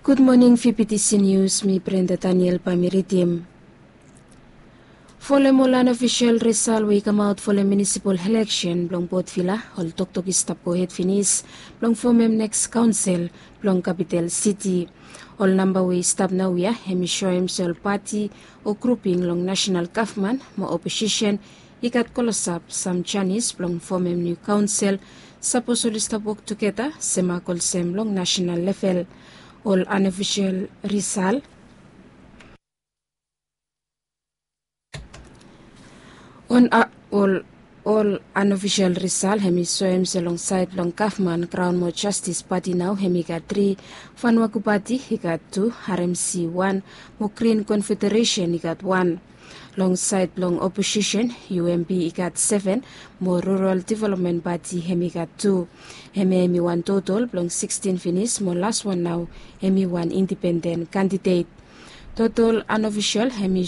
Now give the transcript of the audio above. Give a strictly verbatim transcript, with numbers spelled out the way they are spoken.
Gud moning, fifiti sinius mi Brenda Daniel bae mi ridim. Folem ol anofisel risal we i kamaot folem munisipal eleksen blong Port Vila, ol toktok i stap gohed finis blong fomem neks kaonsel blong kapital siti. Ol namba we i stap naoia hem i soem se ol pati o gruping long nasenal gavman mo oposisen i gat klosap sam janis blong fomem niu kaonsel sapos oli stap wok tugeta semak olsem long nasenal level. Ol anofisel risal on a ol ol anofisel risal hem i soem se long saed blong gavman, graon mo jastis pati nao hem i gat tri, fanwaku pati i gat tu, aremsi wan, mo grin konfederesen i gat wan. Long saed blong oposisen, UMP i gat seven, mo rural developmen pati hem i gat tu. Hemia hem i wan totol blong sikstin finis mo laswan nao hem i wan indipenden kandidet. Totol anofisel hem i